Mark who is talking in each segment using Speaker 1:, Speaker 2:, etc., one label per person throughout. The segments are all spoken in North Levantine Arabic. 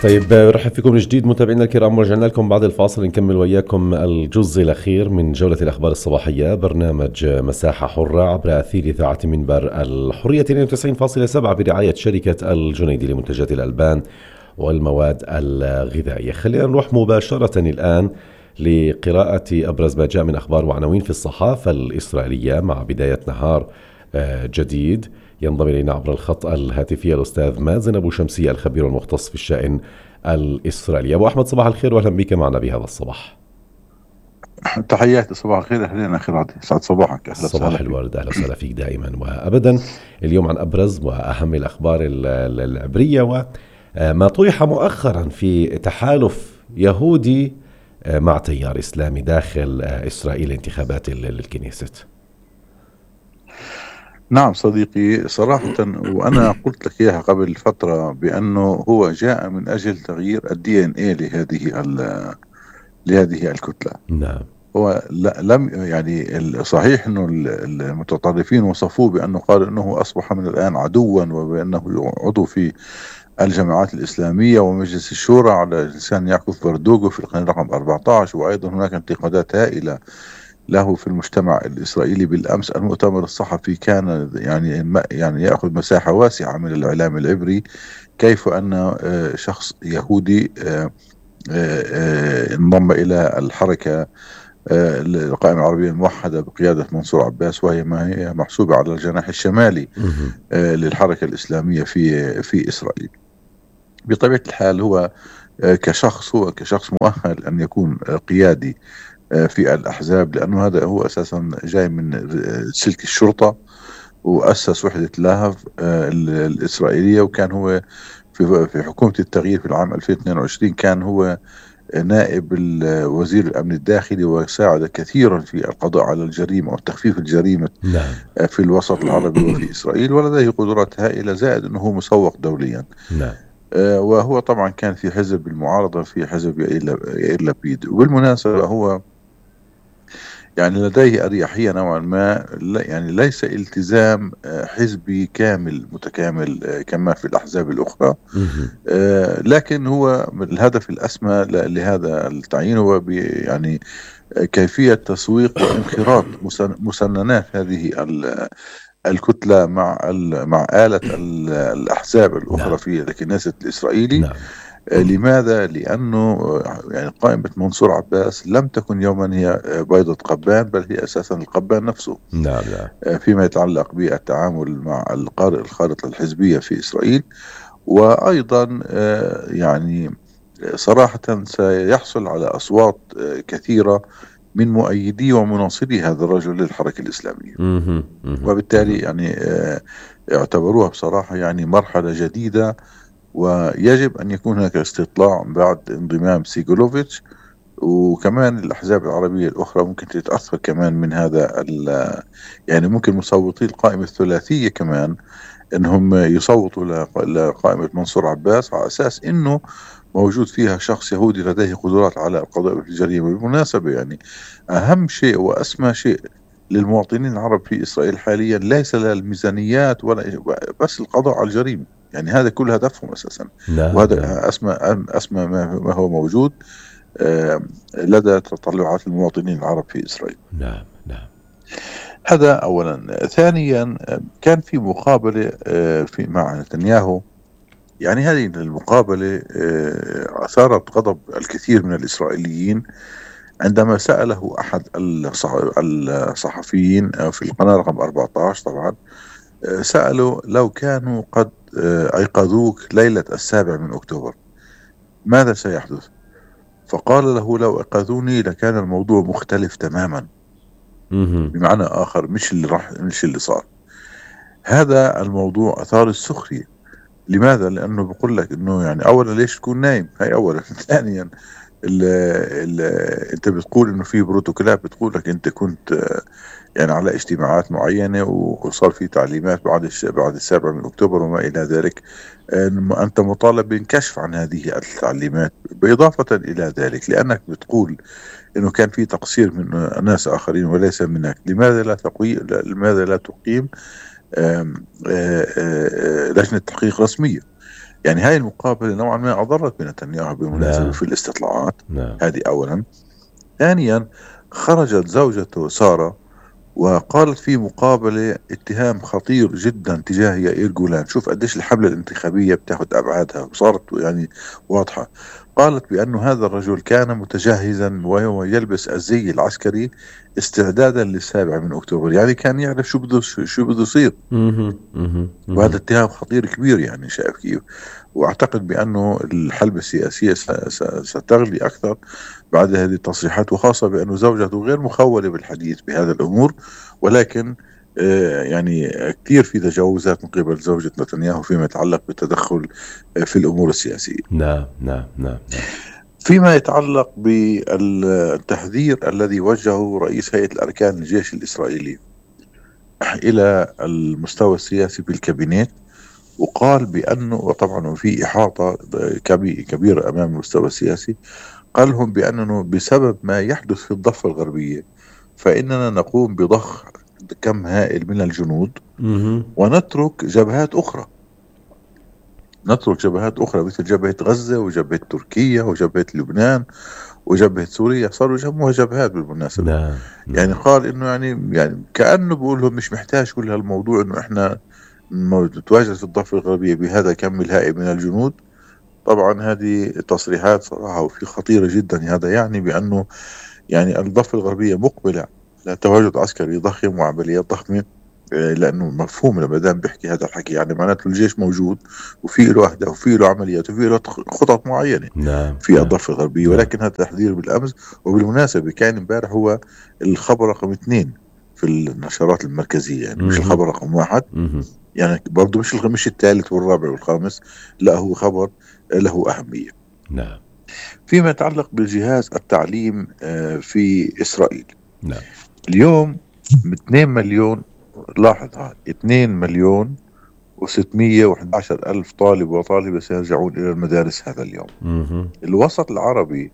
Speaker 1: طيب رحب فيكم من جديد متابعينا الكرام، ورجعنا لكم بعد الفاصل نكمل وياكم الجزء الأخير من جولة الأخبار الصباحية، برنامج مساحة حرة عبر أثير إذاعة منبر الحرية 92.7 برعاية شركة الجنيدي لمنتجات الألبان والمواد الغذائية. خلينا نروح مباشرة الآن لقراءة أبرز ما جاء من أخبار وعناوين في الصحافة الإسرائيلية مع بداية نهار جديد. ينضم إلينا عبر الخط الهاتفي الأستاذ مازن أبو شمسية الخبير المختص في الشأن الإسرائيلي. أبو أحمد صباح الخير وأهلا بك معنا بهذا الصباح.
Speaker 2: تحياتي، صباح الخير، أهلين أخيراتي، سعد صباحك، أهلا
Speaker 1: صباح الورد، أهلا وسهلا فيك دائما وأبدا. اليوم عن أبرز وأهم الأخبار العبرية وما طرح مؤخرا في تحالف يهودي مع تيار إسلامي داخل إسرائيل انتخابات الكنيسة.
Speaker 2: نعم صديقي، صراحة وأنا قلت لك إياها قبل فترة بأنه هو جاء من أجل تغيير الDNA لهذه الكتلة.
Speaker 1: نعم.
Speaker 2: هو لم يعني صحيح أنه المتطرفين وصفوه بأنه قال أنه أصبح من الآن عدوا، وبأنه عضو في الجماعات الإسلامية ومجلس الشورى على لسان يعقوب فردوغو في القرن رقم 14. وأيضا هناك انتقادات هائلة له في المجتمع الإسرائيلي. بالأمس المؤتمر الصحفي كان يعني يأخذ مساحة واسعة من الإعلام العبري، كيف أن شخص يهودي انضم إلى الحركة القائمة العربية الموحدة بقيادة منصور عباس، وهي ما هي محسوبة على الجناح الشمالي للحركة الإسلامية في إسرائيل. بطبيعة الحال هو كشخص مؤهل أن يكون قيادي في الأحزاب، لأنه هذا هو أساسا جاي من سلك الشرطة، وأسس وحدة لاهف الإسرائيلية، وكان هو في حكومة التغيير في العام 2022 كان هو نائب وزير الأمن الداخلي، وساعد كثيرا في القضاء على الجريمة وتخفيف الجريمة في الوسط العربي وفي إسرائيل، ولديه قدرات هائلة، زائد أنه مسوق دوليا. وهو طبعا كان في حزب المعارضة، في حزب يائير لبيد. وبالمناسبة هو يعني لديه أريحية نوعا ما، يعني ليس التزام حزبي كامل متكامل كما في الأحزاب الأخرى، لكن هو الهدف الأسمى لهذا التعيين هو يعني كيفية تسويق وانخراط مسننات هذه الكتلة مع آلة الأحزاب الأخرى في الكنيسة الإسرائيلي. لماذا؟ لأنه يعني قائمة منصور عباس لم تكن يوما هي بيضة قبان، بل هي أساسا القبان نفسه. فيما يتعلق بالتعامل مع الخارطة الحزبية في إسرائيل. وأيضا يعني صراحة سيحصل على أصوات كثيرة من مؤيدي ومناصري هذا الرجل للحركة الإسلامية، وبالتالي يعني اعتبروها بصراحة يعني مرحلة جديدة، ويجب أن يكون هناك استطلاع بعد انضمام سيغولوفيتش. وكمان الأحزاب العربية الأخرى ممكن تتأثر كمان من هذا يعني ممكن مصوتي القائمة الثلاثية كمان أنهم يصوتوا لقائمة منصور عباس على أساس أنه موجود فيها شخص يهودي لديه قدرات على القضاء بالجريمة. بالمناسبة يعني أهم شيء وأسمى شيء للمواطنين العرب في إسرائيل حاليا ليس الميزانيات ولا بس القضاء على الجريمة، يعني هذا كل هدفهم أساسا. وهذا أسمى ما هو موجود لدى تطلعات المواطنين العرب في إسرائيل.
Speaker 1: نعم.
Speaker 2: هذا أولا. ثانيا كان في مقابلة مع نتنياهو. يعني هذه المقابلة أثارت غضب الكثير من الإسرائيليين عندما سأله أحد الصحفيين في القناة رقم 14 طبعا، سأله لو كانوا قد أيقظوك ليلة 7 أكتوبر ماذا سيحدث؟ فقال له لو أيقظوني لكان الموضوع مختلف تماما. بمعنى آخر مش اللي صار. هذا الموضوع أثار السخرية. لماذا؟ لأنه بقول لك إنه يعني أولا ليش تكون نايم، هاي أولا. ثانيا أنت بتقول إنه في بروتوكولات بتقول لك أنت كنت يعني على اجتماعات معينة وصار في تعليمات بعد 7 أكتوبر وما إلى ذلك، أنت مطالب بالكشف عن هذه التعليمات. بإضافة إلى ذلك لأنك بتقول إنه كان في تقصير من ناس آخرين وليس منك، لماذا لا تقيم لجنة تحقيق رسمية؟ يعني هاي المقابلة نوعا ما أضرت بنتنياهو بالمناسبة
Speaker 1: نعم،
Speaker 2: في الاستطلاعات.
Speaker 1: نعم.
Speaker 2: هذه أولا. ثانيا، خرجت زوجته سارة وقالت في مقابلة اتهام خطير جدا تجاه يائير جولان. شوف قديش الحملة الانتخابية بتاخد أبعادها وصارت يعني واضحة. قالت بأنه هذا الرجل كان متجهزا وهو يلبس الزي العسكري استعدادا لل7 أكتوبر، يعني كان يعرف شو بده يصير.
Speaker 1: اهم، اهم،
Speaker 2: وهذا
Speaker 1: اهم.
Speaker 2: اتهام خطير كبير، يعني شايف كيف. واعتقد بانه الحلبة السياسية ستغلي اكثر بعد هذه التصريحات، وخاصة بانه زوجته غير مخولة بالحديث بهذا الامور، ولكن يعني كثير في تجاوزات من قبل زوجة نتنياهو فيما يتعلق بالتدخل في الامور السياسية.
Speaker 1: نعم، نعم، نعم، نعم.
Speaker 2: فيما يتعلق بالتحذير الذي وجهه رئيس هيئة الاركان الجيش الاسرائيلي الى المستوى السياسي بالكابينت، وقال بأنه، وطبعا في إحاطة كبيرة أمام المستوى السياسي، قال لهم بأنه بسبب ما يحدث في الضفة الغربية فإننا نقوم بضخ كم هائل من الجنود
Speaker 1: اهم.
Speaker 2: ونترك جبهات أخرى، مثل جبهة غزة وجبهة تركيا وجبهة لبنان وجبهة سوريا. صاروا يسموها جبهات بالمناسبة.
Speaker 1: نعم،
Speaker 2: يعني
Speaker 1: نعم.
Speaker 2: قال إنه يعني كأنه بقول لهم مش محتاج كل هالموضوع إنه إحنا نتواجد في الضفة الغربية بهذا كم الهائل من الجنود. طبعا هذه تصريحات صراحة وفي خطيرة جدا. هذا يعني بأنه يعني الضفة الغربية مقبلة على تواجد عسكري ضخم وعمليات ضخمة. لأنه مفهوم لما دام بيحكي هذا الحكي يعني معناته الجيش موجود وفي له أهداف وفي له عمليات وفي له خطط معينة
Speaker 1: نعم،
Speaker 2: في
Speaker 1: نعم،
Speaker 2: الضفة الغربية.
Speaker 1: نعم.
Speaker 2: ولكن هذا تحذير بالأمس. وبالمناسبة كان امبارح هو الخبر رقم 2 في النشرات المركزية، يعني مش
Speaker 1: اهم،
Speaker 2: الخبر رقم 1.
Speaker 1: اهم.
Speaker 2: يعني برضه مش الثالث والرابع والخامس، لا هو خبر له أهمية.
Speaker 1: نعم،
Speaker 2: فيما يتعلق بجهاز التعليم في إسرائيل
Speaker 1: نعم.
Speaker 2: اليوم 2 مليون، لاحظ هاي 2 مليون و611 ألف طالب وطالبة سيرجعون إلى المدارس هذا اليوم.
Speaker 1: اهم.
Speaker 2: الوسط العربي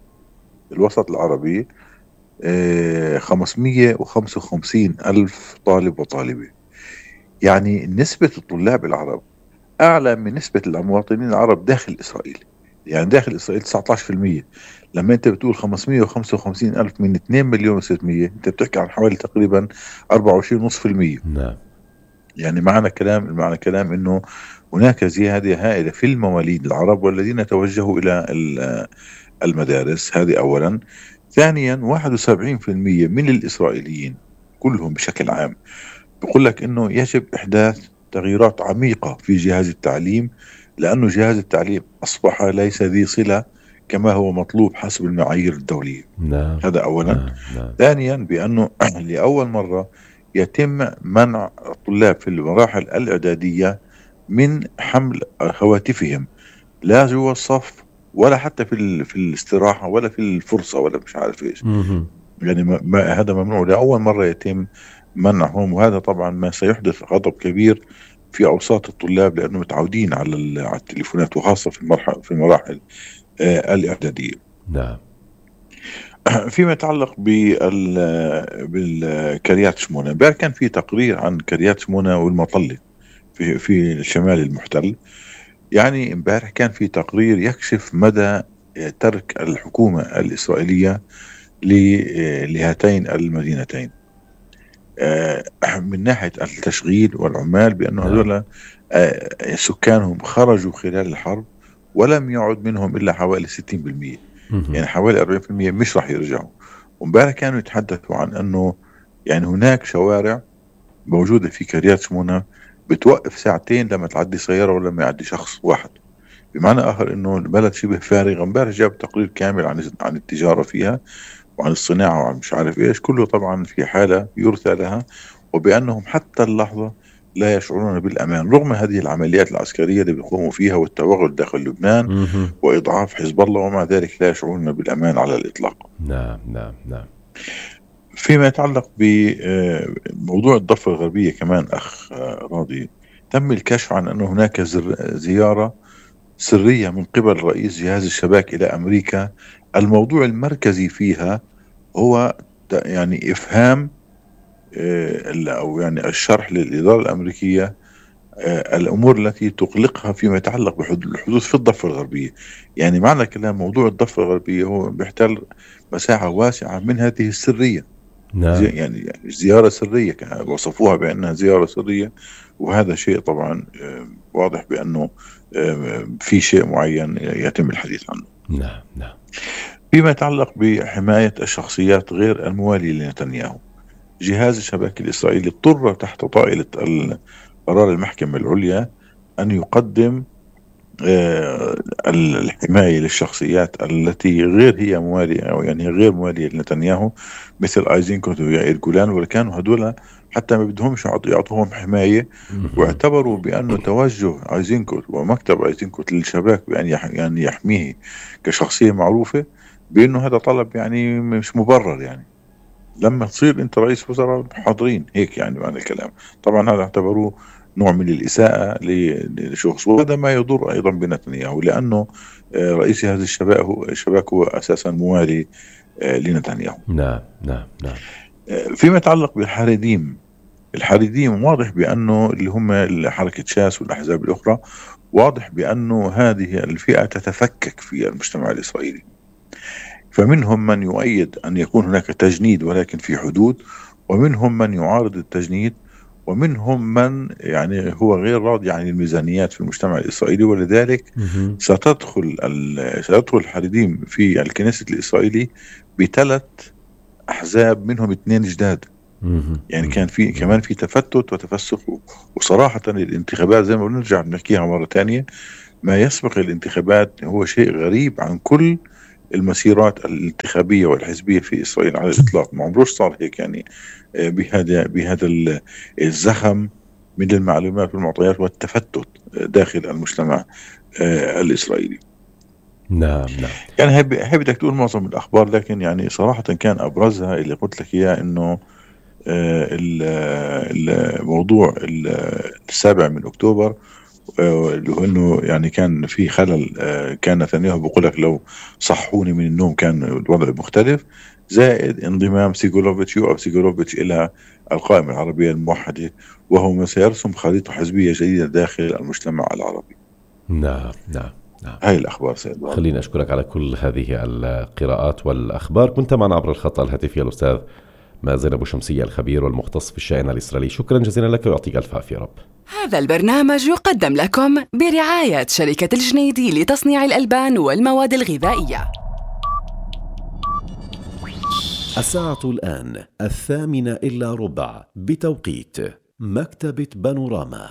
Speaker 2: 555 ألف طالب وطالبة. يعني نسبة الطلاب العرب أعلى من نسبة المواطنين العرب داخل إسرائيل. يعني داخل إسرائيل 19%. لما أنت بتقول 555 ألف من 2 مليون و600، أنت بتحكي عن حوالي تقريبا 24.5%.
Speaker 1: نعم.
Speaker 2: يعني معنى كلام أنه هناك زيادة هائلة في المواليد العرب والذين توجهوا إلى المدارس. هذه أولا. ثانيا، 71% من الإسرائيليين كلهم بشكل عام بقول لك انه يجب احداث تغييرات عميقة في جهاز التعليم، لانه جهاز التعليم اصبح ليس ذي صلة كما هو مطلوب حسب المعايير الدولية.
Speaker 1: نعم،
Speaker 2: هذا اولا.
Speaker 1: نعم، نعم.
Speaker 2: ثانيا، بانه لاول مرة يتم منع الطلاب في المراحل الاعدادية من حمل هواتفهم، لا جوا الصف ولا حتى في الاستراحة ولا في الفرصة ولا مش عارف ايش.
Speaker 1: اهم.
Speaker 2: يعني هذا ممنوع لأول مرة يتم منعهم. وهذا طبعا ما سيحدث غضب كبير في أوساط الطلاب لأنه متعودين على التليفونات، وخاصة في المراحل الإعدادية.
Speaker 1: نعم.
Speaker 2: فيما يتعلق بالكريات شمونة، امبارح كان في تقرير عن كريات شمونة والمطلة في الشمال المحتل. يعني امبارح كان في تقرير يكشف مدى ترك الحكومة الإسرائيلية لهاتين المدينتين من ناحية التشغيل والعمال، بأنه
Speaker 1: نعم.
Speaker 2: هذول سكانهم خرجوا خلال الحرب ولم يعد منهم إلا حوالي 60%.
Speaker 1: اهم.
Speaker 2: يعني حوالي 40% مش راح يرجعوا. ومبارح كانوا يتحدثوا عن أنه يعني هناك شوارع موجودة في كريات شمونة بتوقف ساعتين لما تعدي سيارة ولا ما يعدي شخص واحد. بمعنى آخر أنه البلد شبه فارغة. امبارح جاب تقرير كامل عن التجارة فيها وعن الصناعة وعن مش عارف إيش، كله طبعا في حالة يرثى لها، وبأنهم حتى اللحظة لا يشعرون بالأمان رغم هذه العمليات العسكرية اللي بيقوموا فيها والتوغل داخل لبنان
Speaker 1: اهم.
Speaker 2: وإضعاف حزب الله، ومع ذلك لا يشعرون بالأمان على الإطلاق.
Speaker 1: نعم، نعم، نعم.
Speaker 2: فيما يتعلق بموضوع الضفة الغربية كمان أخ راضي، تم الكشف عن أن هناك زيارة سرية من قبل رئيس جهاز الشباك إلى أمريكا. الموضوع المركزي فيها هو يعني إفهام أو يعني الشرح للإدارة الأمريكية الأمور التي تقلقها فيما يتعلق بالحدوث في الضفة الغربية. يعني معنى كلام موضوع الضفة الغربية هو بيحتل مساحة واسعة من هذه السرية.
Speaker 1: نعم.
Speaker 2: يعني زيارة سرية وصفوها بأنها زيارة سرية، وهذا شيء طبعا واضح بأنه في شيء معين يتم الحديث عنه.
Speaker 1: نعم نعم.
Speaker 2: فيما يتعلق بحماية الشخصيات غير الموالية لنتنياهو، جهاز الشباك الإسرائيلي اضطر تحت طائلة قرار المحكمة العليا أن يقدم الحماية للشخصيات التي غير هي موالية، أو يعني غير موالية لنتنياهو، مثل أيزنكوت ويائير جولان، ولكانوا هدول حتى ما بدهمش يعطوهم حماية، واعتبروا بأنه توجه أيزنكوت ومكتب أيزنكوت للشباك بأن يعني يحميه كشخصية معروفة، بأنه هذا طلب يعني مش مبرر. يعني لما تصير أنت رئيس وزراء حاضرين هيك، يعني معنى الكلام. طبعا هذا اعتبروه نوع من الإساءة لشخص، وهذا ما يضر أيضا بنتنياهو، لأنه رئيس هذا الشباك هو أساسا موالي لنتنياهو.
Speaker 1: نعم نعم نعم.
Speaker 2: فيما يتعلق بالحريديم، الحريديم واضح بأنه اللي هم حركة شاس والأحزاب الأخرى، واضح بأنه هذه الفئة تتفكك في المجتمع الإسرائيلي، فمنهم من يؤيد أن يكون هناك تجنيد ولكن في حدود، ومنهم من يعارض التجنيد، ومنهم من يعني هو غير راضي عن الميزانيات في المجتمع الإسرائيلي، ولذلك ستدخل الحريديم في الكنيسة الإسرائيلي بثلاث أحزاب، منهم 2 جداد. يعني كان في كمان في تفتت وتفسخ. وصراحة الانتخابات زي ما بنرجع بنحكيها مرة تانية، ما يسبق الانتخابات هو شيء غريب عن كل المسيرات الانتخابية والحزبية في إسرائيل على الإطلاق. ما عمروش صار هيك، يعني بهذا الزخم من المعلومات والمعطيات والتفتت داخل المجتمع الإسرائيلي.
Speaker 1: نعم نعم.
Speaker 2: يعني هي بدك تقول معظم الأخبار، لكن يعني صراحة كان أبرزها اللي قلت لك إياه، إنه الموضوع 7 أكتوبر، اللي هو إنه يعني كان في خلل. كان نتنياهو بيقول لك لو صحوني من النوم كان الوضع مختلف، زائد انضمام سيغولوفيتش إلى القائمة العربية الموحدة، وهو ما سيرسم خريطة حزبية جديدة داخل المجتمع العربي.
Speaker 1: نعم نعم نعم.
Speaker 2: هاي الأخبار سيد.
Speaker 1: خليني أشكرك على كل هذه القراءات والأخبار. كنت معنا عبر الخط الهاتفي الأستاذ مازن أبو شمسية، الخبير والمختص في الشأن الإسرائيلي. شكرا جزيلا لك ويعطيك ألف عافية رب.
Speaker 3: هذا البرنامج يقدم لكم برعاية شركة الجنيدي لتصنيع الألبان والمواد الغذائية.
Speaker 1: الساعة الآن 8:08 بتوقيت مكتبة بانوراما.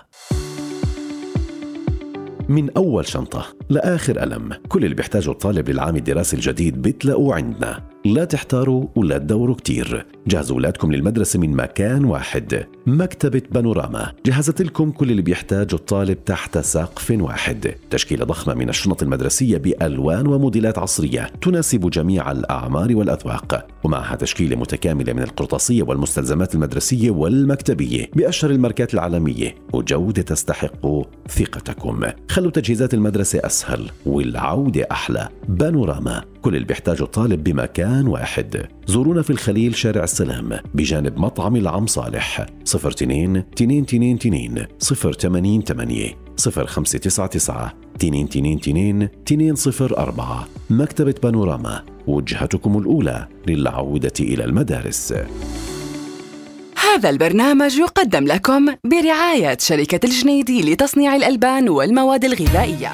Speaker 1: من أول شنطة لآخر قلم، كل اللي بيحتاجه الطالب للعام الدراسي الجديد بتلاقوه عندنا. لا تحتاروا ولا تدوروا كتير، جهزوا أولادكم للمدرسة من مكان واحد. مكتبة بانوراما جهزت لكم كل اللي بيحتاجه الطالب تحت سقف واحد. تشكيلة ضخمة من الشنط المدرسية بألوان وموديلات عصرية تناسب جميع الأعمار والأذواق، ومعها تشكيلة متكاملة من القرطاسية والمستلزمات المدرسية والمكتبية بأشهر الماركات العالمية، وجودة تستحق ثقتكم. خلوا تجهيزات المدرسة أسهل والعودة أحلى. بانوراما، كل اللي بيحتاجه الطالب بمكان واحد. زورونا في الخليل شارع السلام بجانب مطعم العم صالح. 02-222-0888 0599 222-204. مكتبة بانوراما، وجهتكم الأولى للعودة إلى المدارس.
Speaker 3: هذا البرنامج يقدم لكم برعاية شركة الجنيدي لتصنيع الألبان والمواد الغذائية.